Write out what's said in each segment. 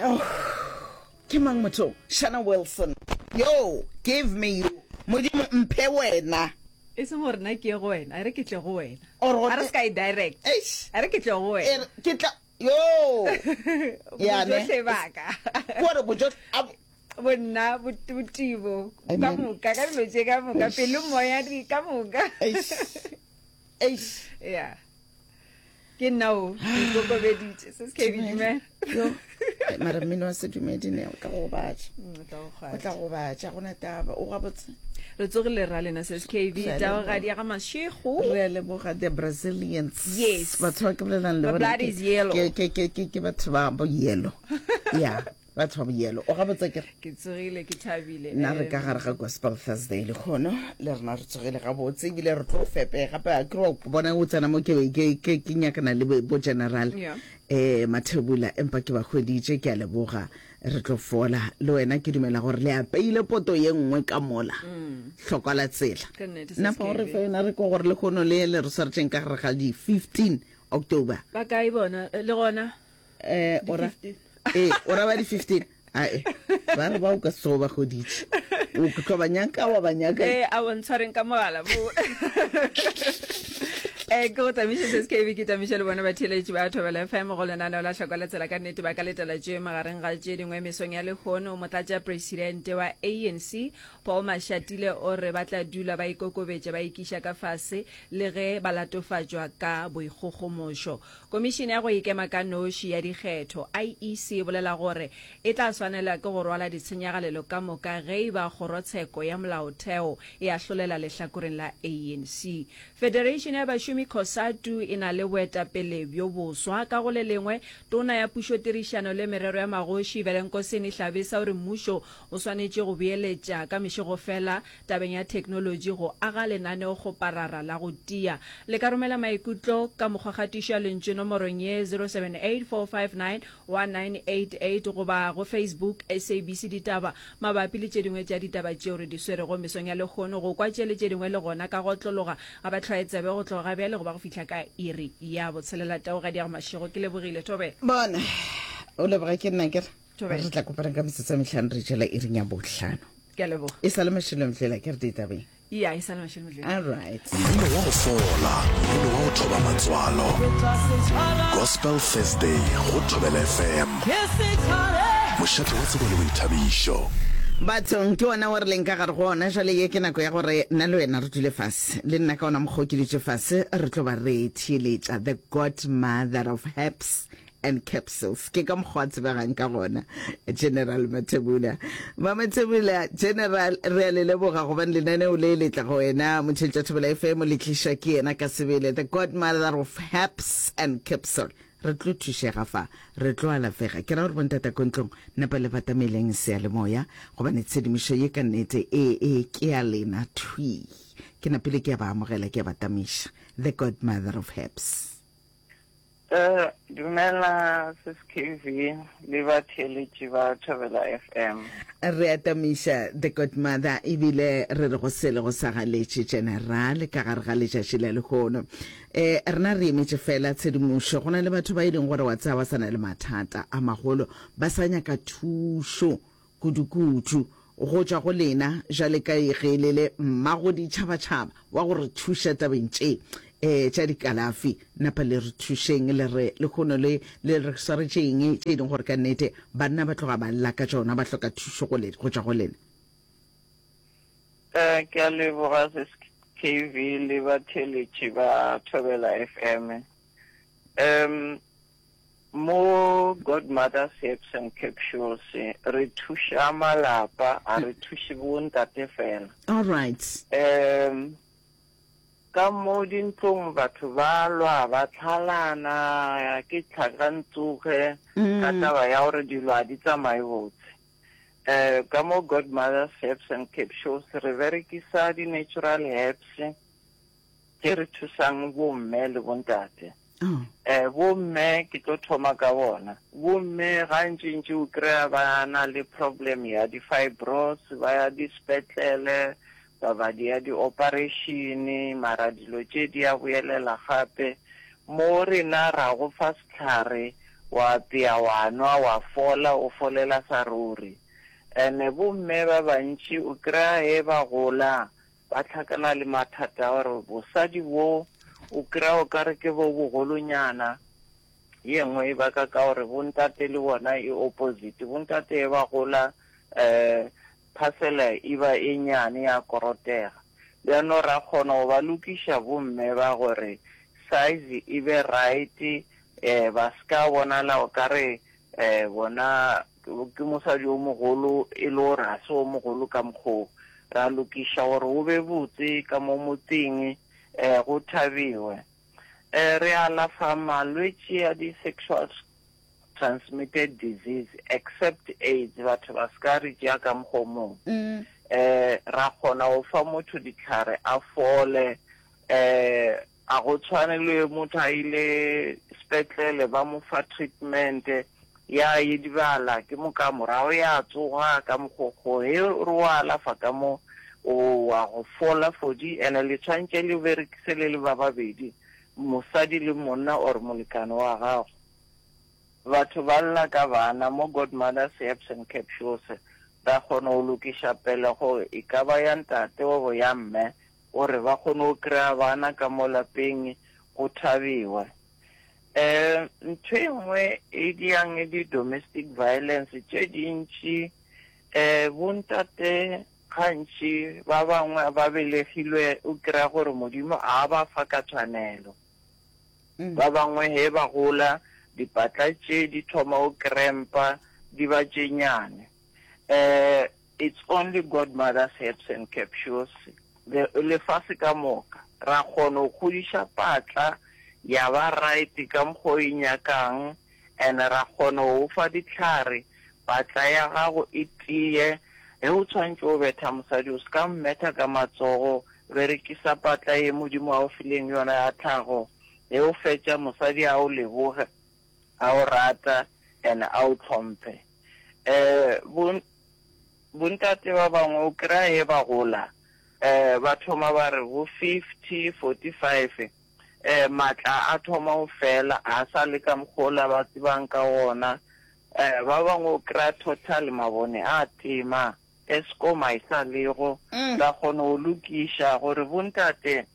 Oh, ke mang motho? Shana Wilson. Yo, give me you. Modimo mphe wena. E seng gore nna ke ye go wena, a re ke tle go wena. Or go A re se ka e direct. Eish. A re ke tle go E wena. re, ke tla yo. Ya ne. Bojohle ba ka. Kore bojohle a Bonna, bot- botibo, ka Amen. moka, ka dilo tše ka moka, Eish. pelo, moya, di ka moka. Eish. Eish. Yeah. Ke nna o, ke ikokobeditše. Se se ke dumela. Yo. Eh, Mara mmino wa sedumedi ne o tla go gobatša. Mm, o tla go O kgwatha. tla go gobatša, gona taba. O gabotse. Re tsogile ra lena sis KB, Re a taogadi leboga. ya ga Mashego. Re a leboga the Brazilians. Yes. Batho ba ke bolelang le My bona blood ke- is yellow. Ke ke ke ke ke batho ba bo yellow. Yeah. Batho ba bo yellow. O gabotse ke re Ke tsogile ke thabile. nna re ka gare ga Gospel Thursday lekgono le rena re tsogile gabotse ebile re tlo fepega gape a kere wa bona o tsena mo ke ke ke ke nyakana le bo general Yeah. eh Mathebula empa ke ba hweditše ke a leboga re tlo fola le wena ke dumela gore le apeile poto ye nngwe ka mola hlokwa la tsela Ka nnete, napa o re SKB. fe yona re ko gore lekgono le le re swaretšeng ka gare ga di 15 October Ba kae bona le gona? Eh, o ra ee o ra ba di 15 ae ba re ba o ka se tsogo ba goditše o tlo ba nyaka wa ba nyaka ee a bontshwareng ka mogala mo Eh, ke go tamiše se skb ke tamiše le bone batheeletši ba thobela fm go lenaneo la hlokwa la tsela ka nnete ba ka letela tše magareng ga tše dingwe mesong ya lehono motlatša presidente wa anc paul mashatile o re ba tla dula ba ikokobetša ba ikiša ka fase le ge ba latofatšwa ka boikgogomošo Komišene ya go Ikema ka Noši ya Dikgetho, IEC, e bolela gore e tla swanela ke go rwala ditshenyagalelo ka moka ge e ba Kgorotsheko ya Molaotheo e ahlolela lehlakoreng la ANC. Federation ya Bašomi Cosatu e na le boetapele bjo boswa. Ka go le lengwe, Tona ya Pušotirišano le Merero ya Magoši, Velenkosini Hlabisa o re mmušo o swanetše go beeletša ka mešegofela tabeng ya theknolotši go aga lenaneokgoparara la go tia. Le ka romela maikutlo ka mokgwakgatišo ya lentšu nomorong ye 0784591988 goba go Facebook SABC Ditaba mabapi le tše dingwe tša ditaba tšeo re di swerego mesong ya lehono. Go kwa tše le tše dingwe le gona ka go otlologa ga ba hlwaye tsebe go tloga ga bjale go ba go fihla ka iri ya botshelela. Taugadi ya go Mašego ke lebogile. Thobela. Bona, o leboga ke nna ke re. Thobela. Re tla kopana ka metsotso e mehlano re jela iring ya bohlano. Ke a leboga. E sa le Mashilo Mdlela ke re ditabeng. Ya, e sa le Mashilo Mdlela. All right. Mmino wa go fola, mmino wa go thoba matswalo. Gospel Thursday go Thobela FM. Mošate wa tsebo le boithabišo. Bathong, ke wona wo re leng ka gare go ona jwale. Ye ke nako ya gore nna le wena re dule fase. Le nna ka ona mokgwa o ke dutše fase, re tlo ba re theeletša The Godmother of Herbs and capsules ke ka mokgwa a tsebegang ka gona General Mathebula. Mamathebula General, re a le leboga gobane lenaneo le le tla go wena Motšheletša Thobela FM le tlišwa ke yena ka sebele, the godmother of herbs and capsule. Re tlo thušega fa, re tlo alafega. Ke ra gore bontata ko ntlong napa le batameleng seyalemoya gobane tshedimošo ye ka nnete e e ke ya lena thwi. Ke napile ke a ba amogela ke a ba tamiša, the godmother of herbs. Eh, dumela sis KV le batheeletši ba Thobela FM. Re atamiša The Godmother ebile re re go sele go sa galetše General ka gare ga letšatši la lehono. Eh, rena re emetše fela tshedimošo. Go na le batho ba e leng gore wa tseba ba sa na le mathata a magolo, ba sa nyaka thušo. kudukudu go tšwa go lena bjale ka ge le le mmago ditšhabatšhaba wa go re thuša tabeng tše um tša dikalafi. Napa le re thušeng le re lehono le le re swaretše eng tše e leng gore ka nnete banna ba tloga ba lla ka tšona, ba hloka thušo go le go tšwa go lena. Eh, ke a leboga Sis KV le batheeletši ba Thobela FM. Um, Mo Godmother's Herbs and Capsules re thuša malapa, a re thuše bo ntate fela. All right. Um ka mo dintlong batho ba lwa ba tlhalana ke tlhakantsoge ka taba ya gore dilo a di tsamaye botse. Um ka mo Godmother's Herbs and Capsules re berekisa di-natural herbs tše re thusang bomme le bontate. Oh. Eh, bomme ke tlo thoma ka bona. Bomme gantšintši o kry-a ba na le problem ya di-fibros, ba ya dispetlele, ba ba di ya di-operation, mara dilo tše di ya boelela gape. Mo rena ra go fa sehlare, Wa apea wa nwa wa fola, o folela sa ruri. Ene bomme ba bantši o kry-a ge ba gola ba hlakana le mathata a gore bosadi bo o kry-a o ka re ke bo bogolonyana. Ye nngwe e baka ka gore bontate le bona e opposite. Bontate ge ba gola um phasela e ba e nyane ya korotega. Bjano ra kgona go ba lokiša bomme ba gore size e be right, um ba se ka bonala o ka re um bona ke mosadi o mogolo e le gore ga se o mogolo ka mokgoo. Ra lokiša gore go be botse ka mo motseng, um go thabiwe. Um re alafa malwetši a di-sexual transmitted disease except AIDS, batho ba se ka re tšea ka mokgwa o mongwe. Um ra kgona go fa motho dihlare a fole, um a go tshwane le motho a ile sepetlele ba mo fa treatment ya edibala ke moka morago ya tsoga ka mokgokgo. Ge re o alafa ka mo o wa go fola fodi, ene le tshwantše le berekise le le ba babedi, mosadi le monna or molekane wa gago. Batho ba lla ka bana mo Godmother's Herbs and Capsules ra kgona go lokiša pelego e ka ba ya ntate gobo ya mme gore ba kgone go kry-a bana ka mo lapeng go thabiwe. Um ntho e nngwe e diang di-domestic violence tše dintši um bontate gantši ba bangwe ba belegilwe o kry-a gore Modimo a ba fa ka tshwanelo. Ba bangwe ge ba gola dipatla tše di thoma go krempa di ba tše nyane. Um it's only Godmother's herbs and capsules. Le, lefase ka moka ra kgona go kgodiša patla ya ba right ka mokgwa o e nyakang and ra kgona go fa dihlare patla ya gago e tiye. Ge o tshwantše o betha mosadi o se ka mmetha ka matsogo, berekisa patla ye Modimo a o fileng yona ya tlhago. Ge o fetša mosadi a o leboge, a o rata and a o hlomphe. Um bontate ba bangwe o kry-a ge ba gola um ba thoma ba re bo 50, 45 um matla a thoma go fela, a sa le ka mokgwa ola ba tsebang ka gona. Um ba bangwe o kry-a total mabone a tema, Eskom a e sa lego, ra kgona go lokiša gore bontate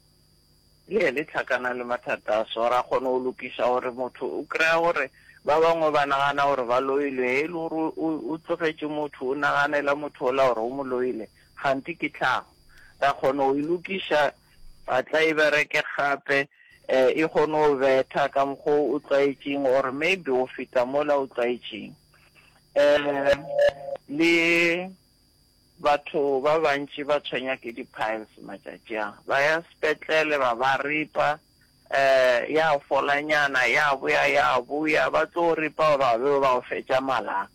le ye le hlakana le mathata a so, ra kgona go lokiša gore motho o kry-a gore ba bangwe ba nagana gore ba loilwe, ge e le gore o tlogetše motho o naganela motho ola gore o mo loile, kganthe ke tlhago. Ra kgona go e lokiša patla e bereke gape, um e kgone go betha ka mokgwa o tlwaetšeng or maybe go feta mola o tlwaetšeng. Um le batho ba bantši ba tshwenya ke di-piles matšatši a, ba ya sepetlele ba ba ripa, um ya folanyana ya boya ya boya, ba tlo ripa ba be ba o fetša mala.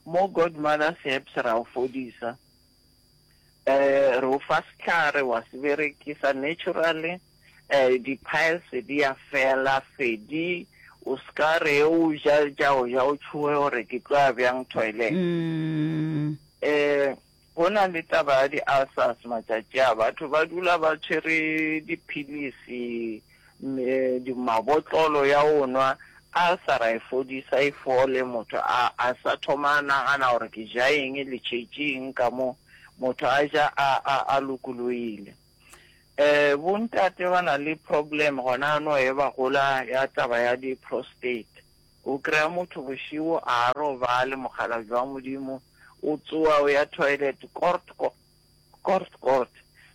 Mo Godmother's Herbs ra o fodisa, um re o fa sehlare wa se berekisa naturally, um di-piles di ya fela fedi, o se ka re o ja tša go ja o tšhoge gore ke tlo ya bjang toilet. Um go na le taba ya di-ulcers matšatši a, batho ba dula ba tshwere diphilisi, mabotlolo ya go nwa, ulcer ra e fodisa e fole, motho a a sa thoma a nagana gore ke ja eng le tšhetše eng ka mo, motho a ja a a a lokologile. Eh, bontate ba na le problem gona no e ba gola ya taba ya di prostate. O kry-a motho bošego a robale mokgalabje wa Modimo, o tsoa o ya toilet kort kort kort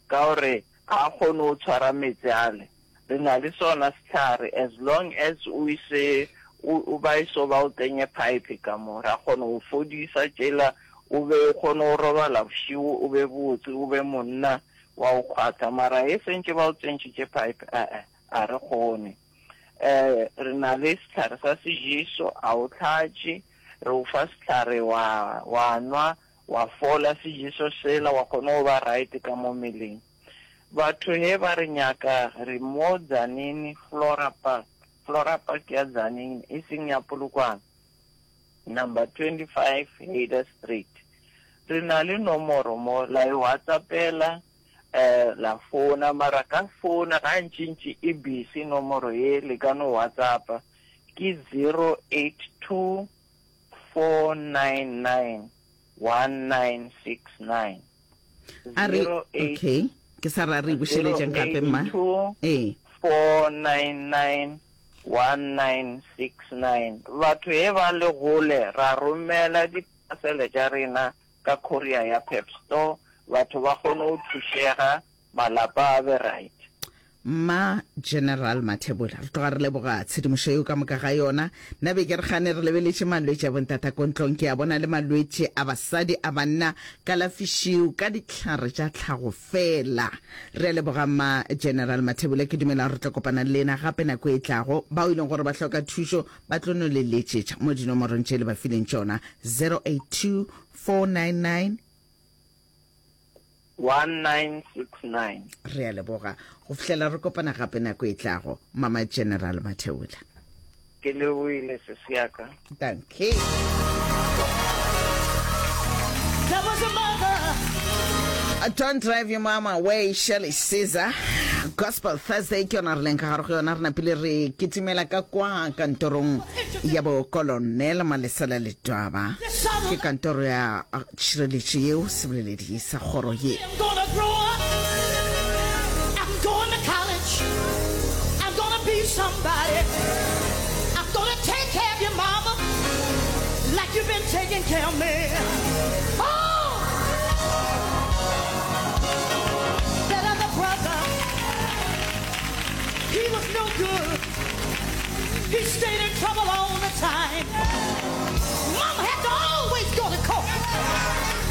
ka gore ga a kgone go tshwara meetse ale. Re na le sona sehlare as long as o ise o ba eso ba o tsenye pipe ka mo, ra kgona go fodisa tšela o be o kgone go robala bošego o be botse o be monna wa o kgwatha mara e sentše ba o tsentšitše pipe a-e a re kgone. Um re na le sehlare sa sejeso a o hlatše, re o fa sehlare wa wa nwa wa fola sejeso sela wa kgona go ba right ka mo mmeleng. Batho he ba re nyaka re mo Tzaneen Flora Park, Flora Park ya Tzaneen e seng ya Polokwane. Number 25 Hayder Street. Re na le nomoro mo, la e WhatsAppela, eh, la founa, mara ka founa gantšintši e busy nomoro ye, le ka no WhatsAppa. Ke 082 499 1969. A re, okay, ke sa ra re bušeletšeng gape mma. Ee. 499 1969. Batho he ba le gole ra romela diphasele tša rena ka courier ya Pep Store, batho ba kgone go thušega, malapa a be right. Mma General Mathebula, re tloga re leboga tshedimošo yeo ka moka ga yona. Nna be ke re gane re lebeletše malwetši a bontata ko ntlong, ke a bona le malwetši a basadi, a banna, kalafišiu ka dihlare tša tlhago fela. Re a leboga Mma General Mathebula, ke dumela gore re tlo kopana le lena gape nako e tlago. Bao e leng gore ba hloka thušo ba tlo no le letšetša mo dinomorong tše le ba fileng tšona, 082 499 1969. Re a leboga. Go fihlela re kopana gape nako e tlago, Mama General Matheola. Ke lebohile sesi ya ka. Dankie. There was a mother. Don't drive your mama away, Shirley Caesar. Gospel Thursday ke yona re leng ka gare go yona, re napile re kitimela ka kwa kantorong ya bo Colonel Malesela Letwaba. Ke kantoro ya tšhireletšo yeo seboleledi sa kgoro ye. He was no good. He stayed in trouble all the time.